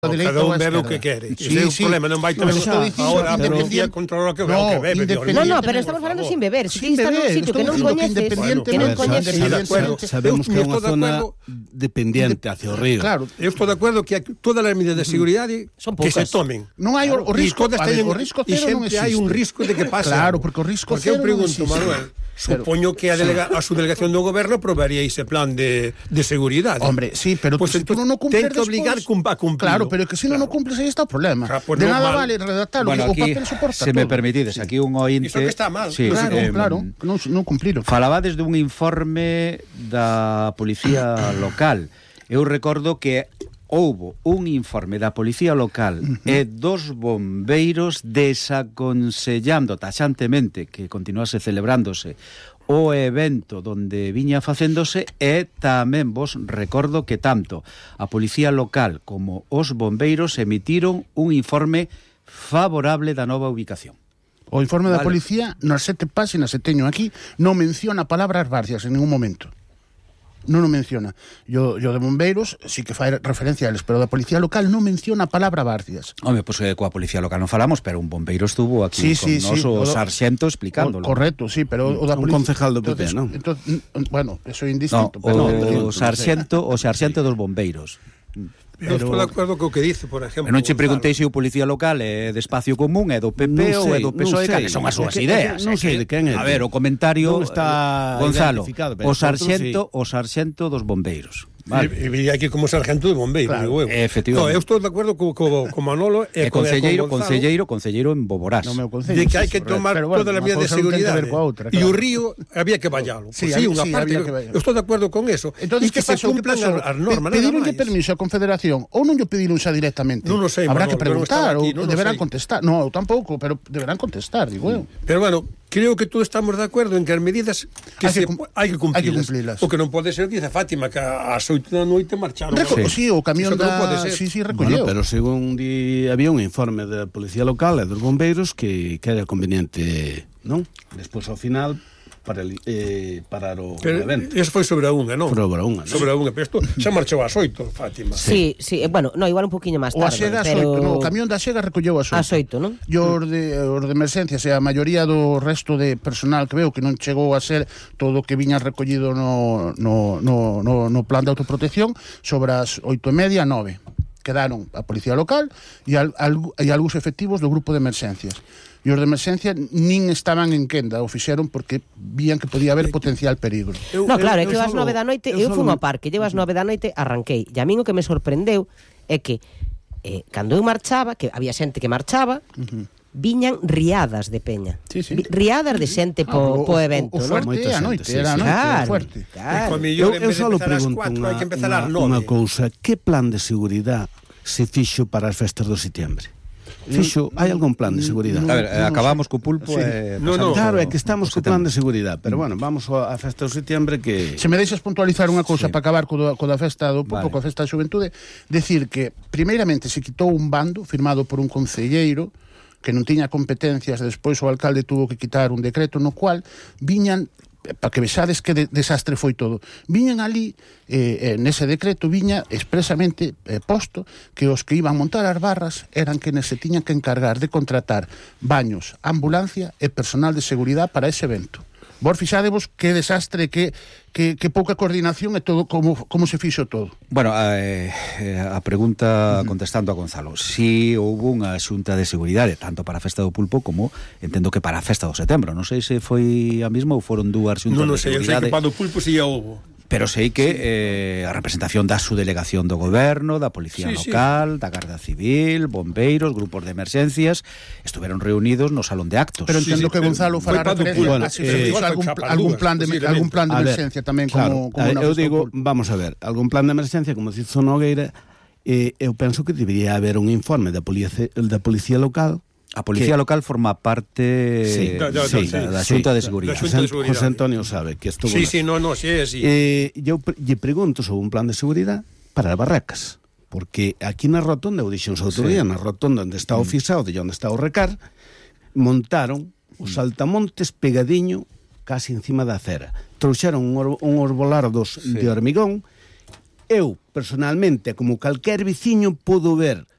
Cada un bebe o que quere. Ese é o problema, non vai ter ahora a policía controla o que bebe. No, pero estamos falando sin beber. Si estás nun sitio que non coñeces, sabemos que é unha zona dependiente hacia o río. Claro, eu estou de acordo que todas as medidas de seguridade que se tomen. Non hai o risco, o risco cero non existe. Hai un risco de que pase. Claro, porque o risco cero non existe. Porque eu pregunto, Manuel, supoño que a subdelegación do goberno aprobaría ese plan de seguridade. Hombre, sí, pero pues se tú non o cumples ten que obligar a cumplir. Claro, pero que se non o cumples aí está o problema. De nada vale redactarlo, o papel soporta todo. Se me permitides, aquí un ointe... Iso que está mal. Claro, non cumpliron. Falabades dun informe da Policía Local. Eu recordo que houbo un informe da Policía Local e dos bombeiros desaconsellando taxantemente que continuase celebrándose o evento donde viña facéndose, e tamén vos recordo que tanto a Policía Local como os bombeiros emitiron un informe favorable da nova ubicación. O informe da Policía, nas 7 páxinas que teño aquí, non menciona palabras varcias en ningún momento. Non o menciona. Yo de bombeiros sí que fai referencia a eles, pero da Policía Local non menciona a palabra Barcias. Home, pois coa Policía Local non falamos, pero un bombeiro estuvo aquí con nos, o sarxento explicándolo. Correcto, sí, pero o da un concejal do PP, non? Bueno, eso é indistinto. O sarxento dos bombeiros. Eu estou de acordo co que dice, por exemplo. Non che preguntei se o Policía Local é de Espacio Común, é do PP ou é do PSOE, que son as súas ideas. Non sei de quen é. A ver, o comentario está Gonzalo, o sarxento dos bombeiros. Vale. E vi aquí como sargento de bombeiro, claro, efectivamente. Eu estou de acordo co Manolo e concelleiro en Boborás. De que hai que tomar todas as medidas de seguridade. E o río había que vallalo. Sí, unha parte. Eu estou de acordo con eso. E que se cumplan as normas. Pedironlle permiso á Confederación ou non lle pediron xa directamente? Non o sei, habrá que preguntar ou deberán contestar. Non, tampouco, pero deberán contestar, digo eu. Pero bueno, creo que todos estamos de acordo en que as medidas hai que cumplirlas. O que non pode ser, dice Fátima, que ás 8 da noite marcharon. Sí, o camión da... Sí, recolleu. Pero según había un informe da Policía Local e dos bombeiros que era conveniente, non? Despois, ao final, parar o evento. Eso foi sobre a unha, non? Sobre a unha, non? Sobre a unha, pero isto xa marchou ás 8, Fátima. Sí, bueno, igual un poquinho máis tarde. O camión da Xega recolleu ás 8. Ás 8, non? E os de emerxencias e a maioría do resto de personal que veo que non chegou a ser todo o que viña recollido no plan de autoprotección, sobre as 8:30, 9. Quedaron a Policía Local e algúns efectivos do grupo de emerxencias. E os de emerxencia nin estaban en quenda, o fixeron porque vían que podía haber potencial perigo. Claro, é que ás 9 da noite eu fui ao parque, ás 9 da noite arranquei, e a min o que me sorprendeu é que cando eu marchaba, que había xente que marchaba, viñan riadas de peña. Riadas de xente po evento, non? Fuerte a noite, era fuerte. Eu só pregunto unha cousa, que plan de seguridade se fixo para as festas do setembro? Hai algún plan de seguridade? A ver, acabamos co pulpo Claro, é que estamos co plan de seguridade, pero bueno, vamos á festa do setembro que... Se me deixas puntualizar unha cousa para acabar co da festa do pulpo, coa festa da xuventude, decir que primeiramente se quitou un bando firmado por un concelleiro que non tiña competencias, despois o alcalde tuvo que quitar un decreto no cual viñan, para que vexades que desastre foi todo, viñan ali, nese decreto viña expresamente posto que os que iban montar as barras eran quenes se tiñan que encargar de contratar baños, ambulancia e personal de seguridade para ese evento. Vos fixadevos que desastre, que pouca coordinación e todo, como se fixo todo. Bueno, a pregunta contestando a Gonzalo, si houve unha xunta de seguridade tanto para a festa do pulpo como entendo que para a festa do setembro. Non sei se foi a mesma ou foron dúas xuntas de seguridade. Non sei, eu sei que para o pulpo si houve. Pero sei que a representación da subdelegación do goberno, da Policía Local, da Garda Civil, bombeiros, grupos de emerxencias, estuveron reunidos no salón de actos. Pero entendo que Gonzalo fará referencia a algún plan de emerxencia tamén como eu digo, vamos a ver, algún plan de emerxencia, como dice Nogueira, eu penso que debería haber un informe da Policía Local. A Policía Local forma parte da Xunta de Seguridade. José Antonio sabe que estuvo... Sí, é así. Eu lle pregunto sobre un plan de seguridade para as barracas, porque aquí na rotonda, eu dixen outro día, na rotonda onde está o Fisao, de onde está o Recar, montaron os saltamontes pegadiño casi encima da acera. Trouxeron uns volardos de hormigón. Eu, personalmente, como calquer veciño, podo ver